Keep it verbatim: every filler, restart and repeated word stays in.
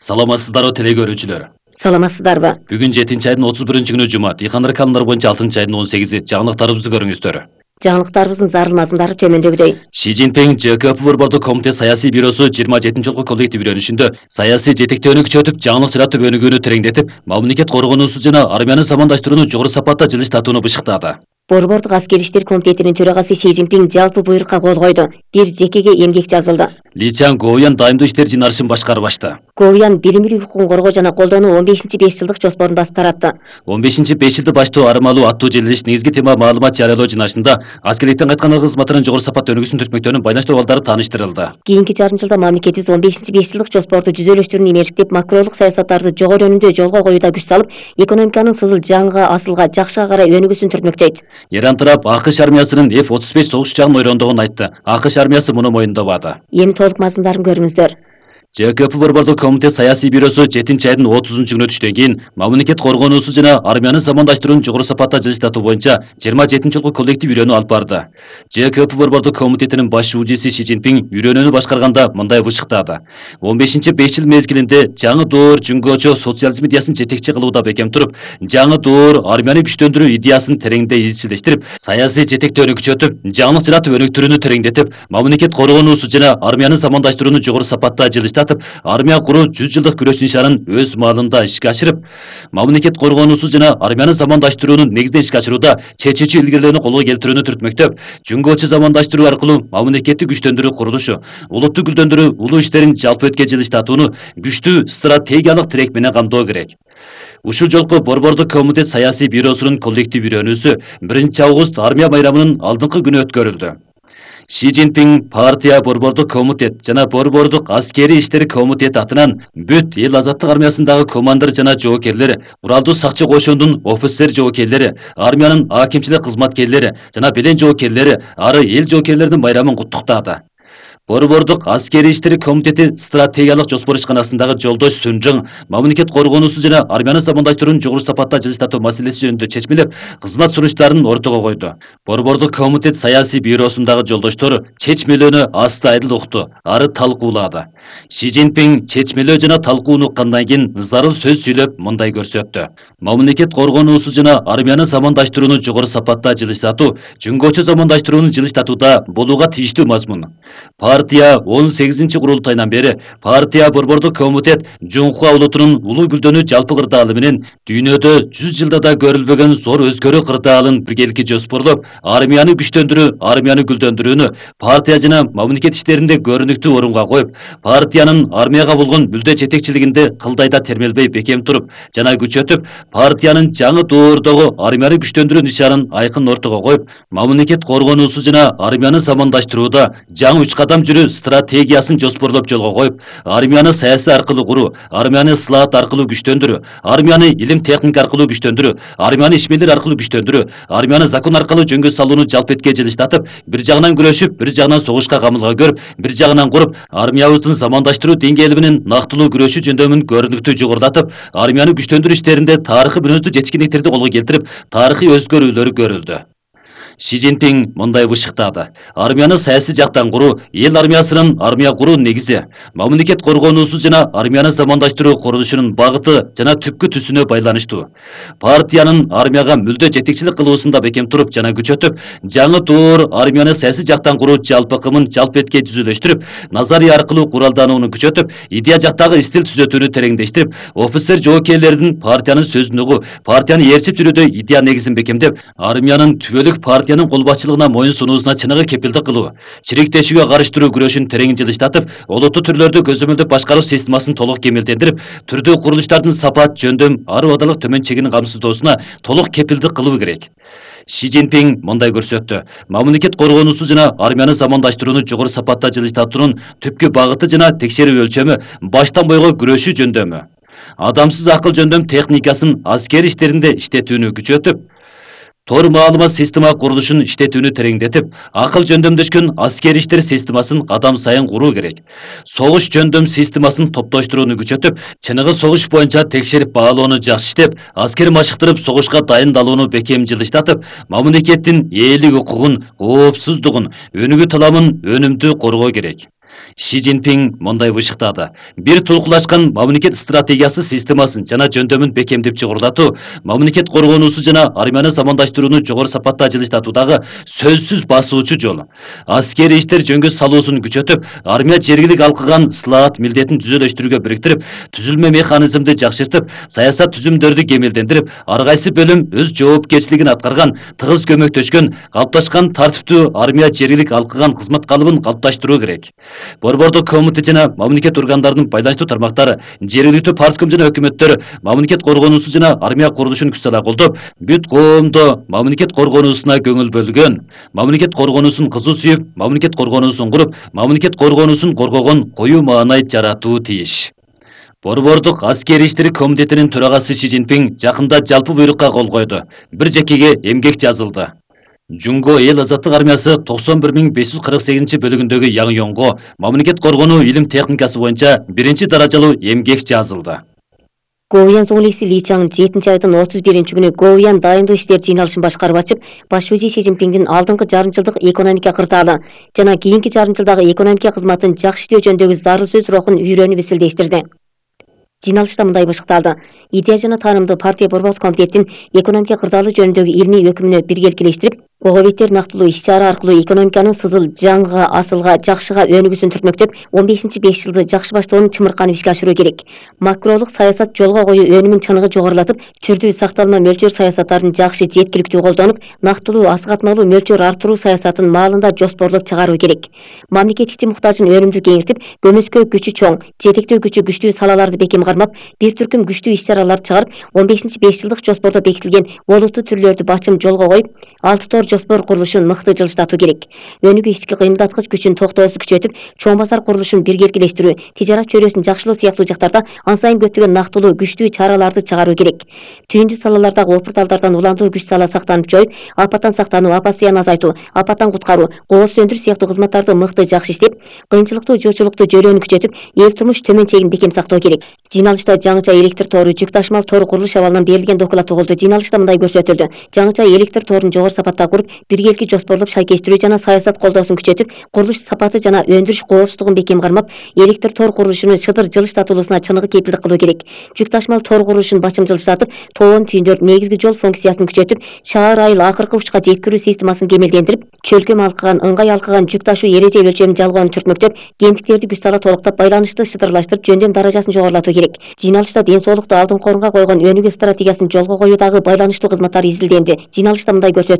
Саламатсыздарбы теле көрүүчүлөр. Саламатсыздарбы? Бүгүн жетинчи айдын отуз биринчи күнү жума. Дыйкандар календарь боюнча алтынчы айдын он сегизи. Жаңылыктарыбызды көрүңүздөр. Жаңылыктарыбыздын зарыл мазмундары төмөндөгүдөй. Ши Цзиньпин ЖКП борбордук комитет саясий бюросу жыйырма жетинчи жолку коллектив үйрөнүшүндө саясий жетектөөнү күчөтүп, жаңылык жаратып өнүгүүнү тереңдетип, мамлекет коргонуусу жана армияны замандаштырууну жогору сапатта жылыштатууну бышыктады. Борбордук аскери иштер комитетинин төрагасы Ши Цзиньпин жалпы буйрукка кол койду. Бир жекеге эмгек жазылды. Ли Чан Гоуян дайымдуу иштер жыйнарышын башкарып ачты. Гоуян билим укугун коргоо жана колдонуу он бешинчи беш жылдык жоспорун басып таратты. он бешинчи беш жылды баштоо армалуу аттуу желилиш негизги тема маалымат жарыялоо жыйнашында аскерликтен кайткан ыргыз кызматынын жогору сапатта өнүгүүсүн түртмөктөрүнүн байланыштуу абалдары тааныштырылды. Кийинки жарым жылда мамлекетибиз он бешинчи беш жылдык жоспорду жүзөлөштүрүүнү имештип, макролук саясаттарды жогору өнүмдүү жолго коюуда күч салып, экономиканын сызыл жаңга, асылга, жакшыга карай өнүгүүсүн түртмөктөйт. Иран тарап АКШ армиясынын эф отуз беш согуш учагын ойрондогонун айтты. АКШ армиясы муну моюндабады. Эми толук мазмундарын көрүңүздөр. ЖКП борбордук комитет саясий бюросу жетинчи айдын отузунчу күнү түштөн кийин мамлекет коргонуусу жана армияны замандаштырууну жогору сапатта жылыштатуу боюнча жыйырма жетинчи жолку коллектив үйрөнүү алып барды. ЖКП борбордук комитетинин баш УЖИси Ши Цзиньпин үйрөнүүнү башкарганда мындай бышыктады. он бешинчи беш жыл мезгилинде жаңы доор Жүнгөчө социализм идеясын жетекчи кылууда бекем туруп, жаңы доор армияны күчтөндүрүү идеясын тереңде изчилештирип, саясий жетектөөнү күчөтүп, жаңылык жаратып өнүктүрүүнү тереңдетип, мамлекет коргонуусу жана армияны замандаштырууну жогору сапатта жылыштатып, армия куруу жүз жылдык күрөш нишанын өз маалында ишке ашырып, мамлекет коргонуусу жана армияны замандаштыруунун негизинен ишке ашырууда чечүүчү илгерилөөнү колго келтирүүнү түртмөктөп, Жүнгөчө замандаштыруу аркылуу мамлекетти күчтөндүрүү курулушу, улутту гүлдөндүрүү улуу иштерин жалпы өткө жылыштатууну күчтүү стратегиялык тирек менен камдоо керек. Ушул жолку борбордук комитет саясий бюросунун коллектив үйрөнүүсү биринчи август армия байрамынын алдыңкы күнү өткөрүлдү. Ши Цзиньпин партия борбордук комитет жана борбордук аскери иштер комитети атынан бүт эл азаттык армиясындагы командир жана жоокерлер, куралдуу сакчы кошундун офицер жоокерлери, армиянын акимчилик кызматкерлери жана белен жоокерлери ары эл жоокерлеринин байрамын куттуктады. Борбордук аскери иштер комитети стратегиялык жоспор ишканасындагы жолдош Сүнжүң мамлекет коргонуусу жана армияны замандаштырууну жогору сапатта жылыштатуу маселеси жөнүндө чечмелеп, кызмат сунуштарын ортого койду. Борбордук комитет саясий бюросундагы жолдоштор чечмелөөнү аста айдыл укту, ары талкуулады. Ши Цзиньпин чечмелөө жана талкууну уккандан кийин зарыл сөз сүйлөп мындай көрсөттү. Мамлекет коргонуусу жана армияны замандаштырууну жогору сапатта жылыштатуу Жүнгөчө замандаштырууну жылыштатууда болууга тийиштүү мазмун. Партия он сегизинчи курултайынан бери партия борбордук комитет Жунхуа улутунун улуу гүлдөнүү жалпы кырдаалы менен дүйнөдө жүз жылда да көрүлбөгөн зор өзгөрүү кырдаалын биргеликти жоспорлоп, армияны күчтөндүрүү, армияны гүлдөндүрүүнү партия жана мамлекет иштеринде көрүнүктүү орунга коюп, партиянын армияга болгон мүлдө жетекчилигинде кылдайда термелбей бекем туруп жана күчөтүп, партиянын жаңы доордогу армияны күчтөндүрүү нишанын айкын ортого коюп, мамлекет коргонуусу жана армияны замандаштырууда жаңы үч кадам жүрүү стратегиясын жоспорлоп жолго коюп, армияны саясий аркылуу куруу, армияны сылаат аркылуу күчтөндүрүү, армияны илим техника аркылуу күчтөндүрүү, армияны ишмерлер аркылуу күчтөндүрүү, армияны закон аркылуу жөнгө салууну жалпы этке жылыштатып, бир жагынан күрөшүп, бир жагынан согушка камылга көрүп, бир жагынан куруп, армиябыздын замандаштыруу деңгээли менен нактылуу күрөшүү жөндөмүн көрүнүктүү жогорулатып, армияны күчтөндүрүү иштеринде тарыхый мүнөздүү жетишкендиктерди колго келтирип, тарыхый өзгөрүүлөр көрүлдү. Ши Цзиньпин мындай бышыктады. Армияны саясий жактан куруу эл армиясынын армия куруу негизи, мамлекет коргонуусу жана армияны замандаштыруу курулушунун багыты жана түпкү түсүнө байланыштуу. Партиянын армияга мүлдө жетекчилик кылуусунда бекем туруп жана күчөтүп, жаңы доор армияны саясий жактан куруу жалпы кымын жалпы этке түзүлөштүрүп, назария аркылуу куралданууну күчөтүп, идея жактагы стиль түзөтүүнү тереңдештирип, офицер жоокерлердин партиянын сөзүн угуп, партияны ээрчип жүрүүдө идея негизин бекемдеп, армиянын түбөлүк партиянын кол башчылыгына моюн сунуусуна чыныгы кепилдик кылуу, чириктешүүгө каршы күрөшүн терең жылыштатып, олуттуу түрлөрдү көзөмөлдөп башкаруу системасын толук кемелдендирип, түрдүү курулуштардын сапат, жөндөм, ары убадалык төмөн чегинин камсыздоосуна толук кепилдик кылуу керек. Ши Цзиньпин мындай көрсөттү. Мамлекет коргонуусу жана армияны замандаштырууну жогору сапатта жылыштатуунун түпкү багыты жана текшерүү өлчөмү баштан бойго күрөшүү жөндөмү. Адамсыз акыл жөндөм техникасын аскер иштеринде иштетүүнү күчөтүп, тор маалымат система курулушун иштетүүнү тереңдетип, акыл жөндөмдөшкөн аскери иштер системасын кадам сайын куруу керек. Согуш жөндөм системасын топтоштурууну күчөтүп, чыныгы согуш боюнча текшерип баалоону жакшы иштеп, аскер машыктырып согушка дайындалууну бекем жылыштатып, мамлекеттин ээлик укугун, коопсуздугун, өнүгүү таламын өнүмдүү коргоо керек. Ши Цзиньпин мындай бышыктады. Бир толкулашкан мамлекет стратегиясы системасын жана жөндөмүн бекемдеп чыгырдатуу, мамлекет коргонуусу жана армияны замандаштырууну жогору сапатта жылыштатуудагы сөзсүз басуучу жол. Аскери иштер жөнгө салуусун күчөтүп, армия жергилик алкыган слаат милдетин түзөлөштүрүүгө бириктирип, түзүлмө механизмди жакшыртып, саясат түзүмдөрдү кемелдендирип, ар кайсы бөлүм өз жоопкерчилигин аткарган, тыгыз көмөктөшкөн, калыпташкан тартиптүү армия жергилик алкыган кызмат калыбын калыпташтыруу керек. Борбордук комитет жана мамлекет органдарынын байланыштуу тармактары, жергиликтүү партком жана өкмөттөр мамлекет коргонуусу жана армия курулушун күч сала колдоп, бүт коомдо мамлекет коргонуусуна көңүл бөлгөн, мамлекет коргонуусун кызуу сүйүп, мамлекет коргонуусун куруп, мамлекет коргонуусун коргогон коюу маанай жаратуу тийиш. Борбордук аскери иштер комитетинин төрагасы Ши Цзиньпин жакында жалпы буйрукка кол койду. Бир жекеге эмгек жазылды. Жунго эл азаттык армиясы токсон бир миң беш жүз кырк сегизинчи бөлүгүндөгү Яңйонго мамлекет коргонуу илим техникасы боюнча биринчи даражалуу эмгек жазылды. Говьян зоңлиси Ли Чаң жетинчи айдын отуз биринчи күнү Говьян дайымдык иштер жыйналышын башкарып ачып, баш вазир Ши Цзиньпиндин алдыңкы жарым жылдык экономика кырдаалы жана кийинки жарым жылдагы экономика кызматын жакшы иштөө жөнүндөгү зарыл сөз рухун үйрөнүп эсилдештирди. Жыйналышта мындай бышыкталды. Идея жана таанымды партия борбордук комитеттин экономика кырдаалы жөнүндөгү илмий өкүмүнө биргеликилештирип, ого бетер нактылуу иш-чара аркылуу экономиканын сызыл жаңыга, асылга, жакшыга өнүгүүсүн түртмөктөп, он бешинчи беш жылды жакшы баштоонун чымырканып ишке ашыруу керек. Макролук саясат жолго коюу өнүмүн чыныгы жогорулатып, түрдүү сакталма мөлчөр саясаттарын жакшы жеткиликтүү колдонуп, нактылуу асыгатмалуу мөлчөр арттыруу саясатын маалында жоспорлоп чыгаруу керек. Мамлекет ичи муктажын өнүмдүү кеңейтип, көмөскө күчү чоң, жетектөө күчү күчтүү салаларды бекем кармап, бир түркүм күчтүү иш-чараларды чыгарып, он бешинчи беш жылдык жоспордо бекитилген олуттуу түрлөрдү бачым жолго коюп, алты тор жоспор курулушун мыкты жылыштатуу керек. Өнүгүү ички кыймылдаткыч күчүн токтоосу күчөтүп, чоң базар курулушун биргеликилештирүү, тижарат чөйрөсүн жакшылоо сыяктуу жактарда ан сайын көптөгөн нактылуу күчтүү чараларды чыгаруу керек. Түйүндүү салалардагы опурталдардан уландуу күч сала сактанып жоюп, апаттан сактануу, апат зыянын азайтуу, апаттан куткаруу, кооп сөндүрүү сыяктуу кызматтарды мыкты жакшы иштеп, кыйынчылыктуу жылчылыктуу жөрөөнү күчөтүп, эл турмуш төмөн чегин бекем сактоо керек. Жыйналышта жаңыча электр тору, жүк ташымал тору курулуш абалынан берилген доклад угулду. Жыйналышта мындай көрсөтүлдү. Жаңыча электр торун жогору сапатта куруп, биргеликти жоспорлоп шайкештирүү жана саясат колдоосун күчөтүп, курулуш сапаты жана өндүрүш коопсуздугун бекем кармап, электр тор курулушунун шыдыр жылыштатылуусуна чыныгы кепилдик кылуу керек. Жүк ташымал тор курулушун бачым жылыштатып, тоон түйүндөр, негизги жол функциясын күчөтүп, шаар айыл акыркы учка жеткирүү системасын кемелдендирип, чөлкөм алкыган, ыңгай алкыган жүк ташуу эреже өлчөмүн жалгоону түртмөктөп, кенттиктерди күч сала толуктап, байланышты шыдырлаштырып, жөндөм даражасын жогорулатуу керек. Жыйналышта ден соолукту алдыңкы орунга койгон өнүгүү стратегиясын жолго коюудагы байланыштуу кызматтар изилденди. Жыйналышта мындай көрсөтүлдү.